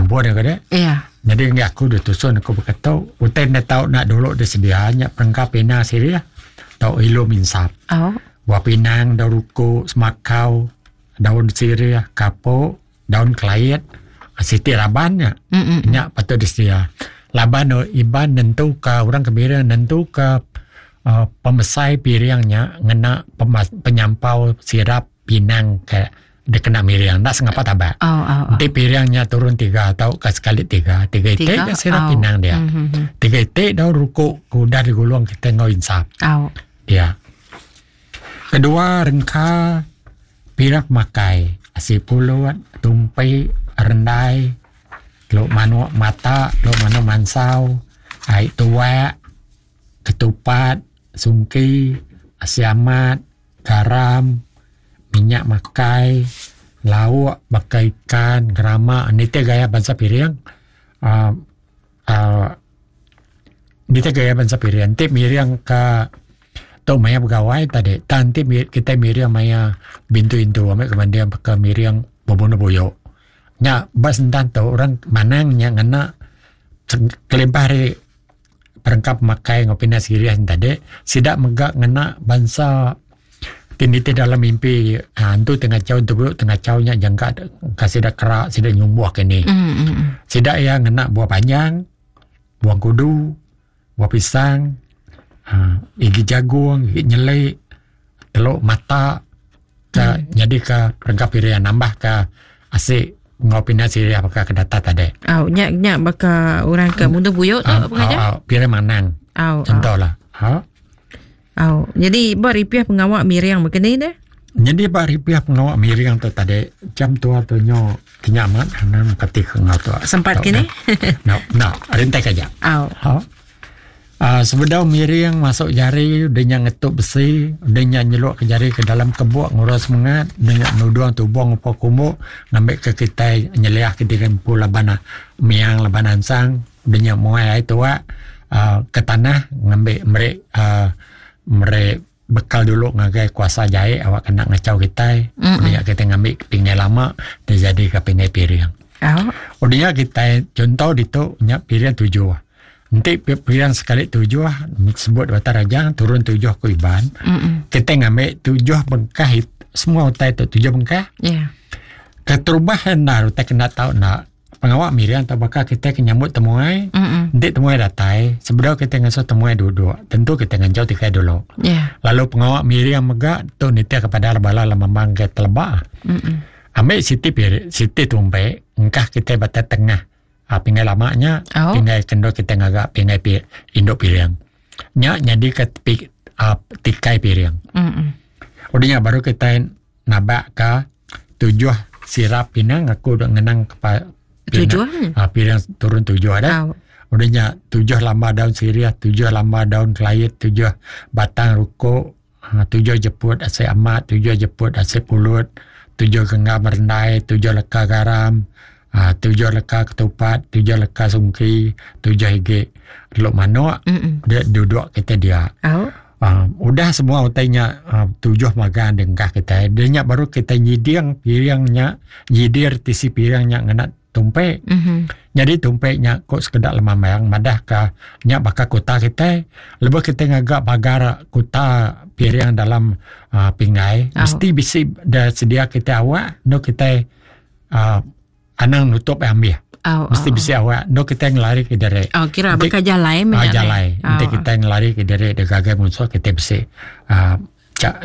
Ampun aku deh. Iya. Nyadi enggi aku deh tusun aku baka tu. Utai enda tau enda dulu disedia nya perengka pina sirih tau ilum insap. Oh. Buah pinang, daun ruku, semakau, daun sirih, kapok, daun kelait, siti raban nya. Nya patut disedia. Laban Iban nentuka orang ke miring nentuka uhh pemesai piring nya ngena penyampau sirap pinang ke dikena miring enda sengapa tabak. Oh, oh, oh. Enti piring nya turun tiga tauka sekali tiga, tiga iti Tiga, ga sirap oh. pinang dia. Mhm. Tiga iti daun ruku ke udah digulung kitai enggau insap. Oh. Dia. Kedua rengka piring pemakai asi pulut, tumpi, rendai, teluk manuk mata, teluk manuk mansau, ai tuak, ketupat, sungki, asi amat, garam, minyak makai, lauk baka ikan, gerama nitih gaya bansa piring uhh uhh nitih gaya bansa piring enti miring ka tu maya begawai tadi tang enti kitai miring maya bintu intu ami ke banding baka miring bebunuh buyu. Nya ba sentan tu orang manang nya ngena kelimpah ari perengka pemakai enggau pindah sirih ne tadi sida mega ngena bansa ti nitih dalam mimpi uhh antu ti ngachau entu tu ngachau nya jangka ka sida kera sida nyumbuh kinih. Sida iya ngena buah panjang, buah kudu, buah pisang uhh igi jagung, igi nyeli, telu mata ka nyadika perengka piring nambah ka asi enggau pindah sirih baka ke data tadi. Au nya nya baka orang ke munduh buyu tu Au pengajar. au piring manang. Au. Contohlah. Ha. Au. Jadi ba ripih pengawa miring baka ni deh. Nyadi ba ripih pengawa miring tu tadi jam tua tu nyo kinya amat anang kati ke enggau tu. Sempat kini? No, no, rintai aja. Au. Ha. Aaa sebedau miring masuk jari udah nya ngetup besi udah nya nyeluk ke jari ke dalam kebuk ngurus semengat udah nya nudung tubung upa kumbu ngambi ke kitai nyeliah ke diri empu laban miang laban ansang udah nya muai ai tuak aaa ke tanah ngambi meri aaa meri bekal dulu ngagai kuasa jai awak kena ngachau kitai udah nya kitai ngambi pingai lama dijadi ka pingai piring. Udah nya kitai chunto ditu nya piring tujuh. Enti piring sekali tujuh sebut Batang Rajang turun tujuh ku Iban kitai ngambi tujuh bengkah semua utai tu tujuh bengkah. Keterubah enda utai kena tau enda pengawa miring tau baka kitai ke nyambut temuai enti temuai datai sebedau kitai ngasuh temuai duduk tentu kitai nganjau tikai dulu. Lalu pengawa miring mega tu nitih kepada bala lemambang ke teleba. Ambi siti piring siti tumpi engkah kitai ba tengah. um Pingai lama nya oh. pingai ke endur kitai ngaga pingai pi indu piring. Nya nyadi ke pi um tikai piring. Mm Udah nya baru kitai nabak ka tujuh sirap pinang aku dok ngenang ke tujuh um piring turun tujuh dah. Oh. Udah nya tujuh lambar daun sirih, tujuh lambar daun kelait, tujuh batang rukuk, um tujuh jeput asi amat, tujuh jeput asi pulut, tujuh genggam rendai, tujuh leka garam, um tujuh leka ketupat, tujuh leka sungki, tujuh igi teluk manuk de duduk kitai dia. Au. Um udah semua utai nya um tujuh magang dengkah kitai de nya baru kitai nyiding piring nya nyidir tisi piring nya ngena tumpi. Nyadi tumpi nya ku sekeda lemambang madah ka nya baka kuta kitai lebuh kitai ngaga pagar kuta piring dalam uhh pinggai mesti bisi da sedia kitai awak endo kitai uhh anang nutup ai ambih. Mesti bisi awak endo kitai ngelari ke diri. Oh kira baka jalai meh nya. Jalai enti kitai ngelari ke diri da gagai munsuh kitai bisi uhh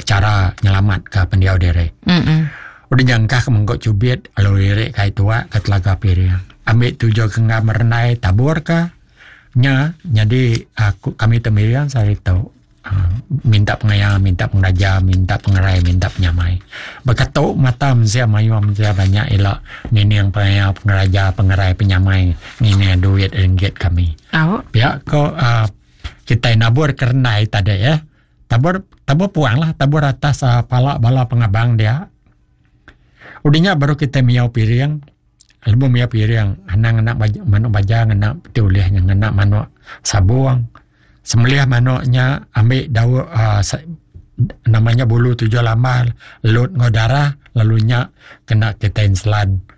chara nyelamat ka pendiau diri. Udah nya engkah ke mengku chubit lalu iri ka ai tuak ka telaga piring. Ambi tuju ke enggam rendai tabur ka nya nyadi aku kami tu miring sehari tu uhh minta pengaya minta pengeraja minta pengerai minta penyamai. Baka tu mata mensia mayuh mensia banyak ila ngining pengaya pengeraja pengerai penyamai ngining duit ringgit kami. Pia ko uhh kitai nabur ke rendai tadi eh. Tabur tabur puang lah tabur atas uhh pala bala pengabang dia. Udah nya baru kitai miau piring lebuh miau piring anang ngena manuk baja ngena ti ulih nya ngena manuk sabung. Sembelih manuk nya ambi daun uhh nama nya bulu tujuh lambar lut enggau darah lalu nya kena kitai enselan.